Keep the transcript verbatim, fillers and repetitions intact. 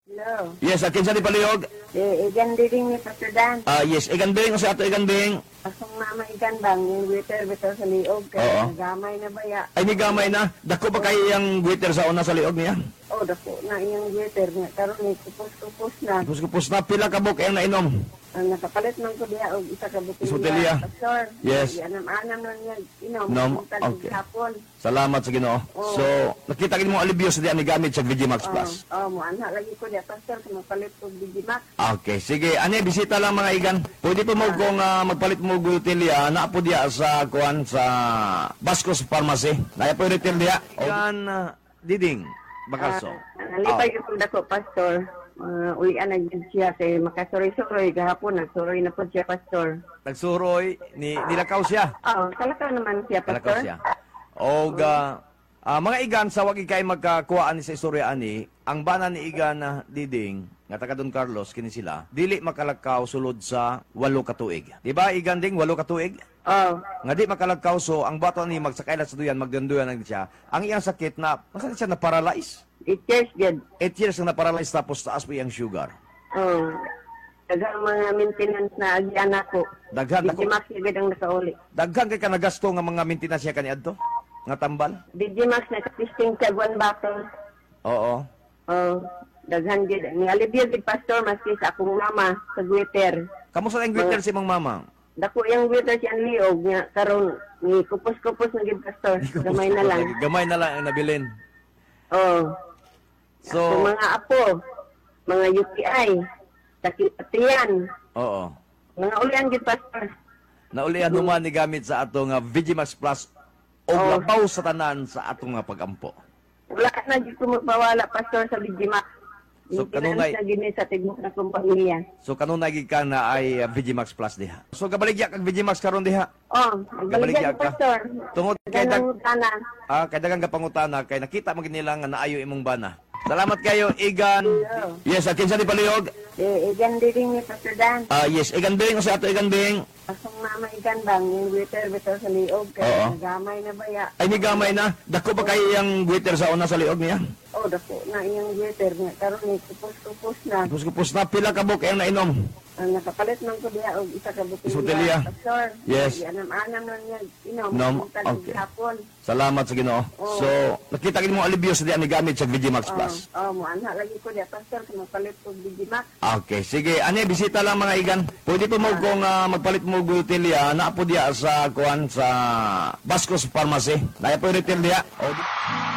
Hello. Yes, uh, kinsa ni palihog? Eh, Igan Diding ni Pastor Dan. Ah, yes, Igan Bing, sa ato Igan Bing. Akong mama Igan bang, yung waiter bitaw sa liog. Oo. Kaya gamay na baya. Ay, ni gamay na. Dako ba kayo yung waiter sa una sa liog niya? Oh, dako na iyang waiter nga. Karon ni kupos-kupos na. Kupos-kupos na, pila ka buok ang nainom. Ang nakapalit man ko diya og isa ka botelya. Botelya. Pastor. Yes. Anam-anam na niya inom. Nom, Buntag okay. Hapon. Salamat sa Ginoo. Oo. So, nakita kini mo alibyo sa diya ni gamit sa V G Max Oh, Plus. oh, mo anha lagi ko diya, Pastor, kung mapalit og V G Max. Okay, sige. Ani, bisita lang, mga igan. Pwede po mo kung ah, magpalit mo botelya, naa po diya sa kuan sa Bascos Pharmacy. Naa po retail diya. Igan ah, Diding Bakalso. Ah, nalipay ko dako, Pastor. Uh, ulian na gyud siya kay makasuroy-suroy gahapon, nagsuroy na po siya, Pastor. Nagsuroy ni nilakaw siya. Oh, kalakaw naman siya, Kalakaw Pastor. siya. Og ah, ah, mga igan, sa wag kay magkakuhaan ni sa istorya ani, ang bana ni Igan na Diding nga taga Don Carlos kini sila, dili makalakaw sulod sa walo ka tuig. Di ba, Igan Ding, walo ka tuig? Oh, Nga di makalakaw, so ang bato ni magsakay lang sa duyan, magdanduyan lang siya. Ang iyang sakit na masa siya na paralyze. Eight years gyud. Eight years na na-paralyze, tapos taas po iyang sugar. Oh. Daghang mga maintenance na agian ako. Daghan D J ako. Max gyud ang nakauli. Daghan kay kanagasto nga mga maintenance siya kaniadto nga tambal. D J Max, naka-testing siya one bottle. Oo. Oh, daghan gyud. Ni alibyo gyud, Pastor, maski sa akong mama sa Twitter. Kamusta ang Twitter si mong mama? Dako yung waiter siya ang liog nga karon ni kupos-kupos na gyud, Pastor. Gamay na lang. Gamay na lang ang nabilin. Oh. So, So, mga apo, mga U T I, sakit patiyan, oo. mga ulian gyud, Pastor. Naulian human ni gamit sa atong uh, V G Max Plus o Oo. labaw sa tanan sa atong nga pagampo. Wala na gyud ko magpawala, Pastor, sa V G Max. So, kanunay- na gini sa tigmok na kong pamilya. So kanunay gid ka na ay uh, V G Max Plus diha. So gabaligya kag V G Max karon diha. Oh, Gabaligya magbaligya ka. Pastor. Tungod kay dag Dagang tana. ah, kay dagang gapangutana kay nakita man gid nila nga naayo imong bana. Salamat kayo, Igan. Yes, uh, kinsa ni palihog? Eh, Igan Diding ni Pastor Dan. Ah, yes, Igan Bing, sa ato Igan Bing. Akong mama Igan bang, yung waiter bitaw sa liog Oo. kay gamay na baya. Ay, ni gamay na. Dako ba kayo yung waiter sa una sa liog niya? Oh, dako na iyang waiter nga karon ni kupos-kupos na. Kupos-kupos na, pila ka buok ang nainom. Ang nakapalit man ko diya og isa ka botelya. Botelya. Pastor. Yes. Anam-anam na niya inom. Nom, Buntag okay. hapon. Salamat sa Ginoo. Oo. So, nakita kini mo alibyo sa diya ni gamit sa V G Max Oh, Plus. oh, mo anha lagi ko diya, Pastor, kung mapalit og V G Max. Okay, sige. Ani, bisita lang, mga igan. Pwede po mo kung ah, magpalit mo botelya, naa po diya sa kuan sa Bascos Pharmacy. Naa po retail diya. O,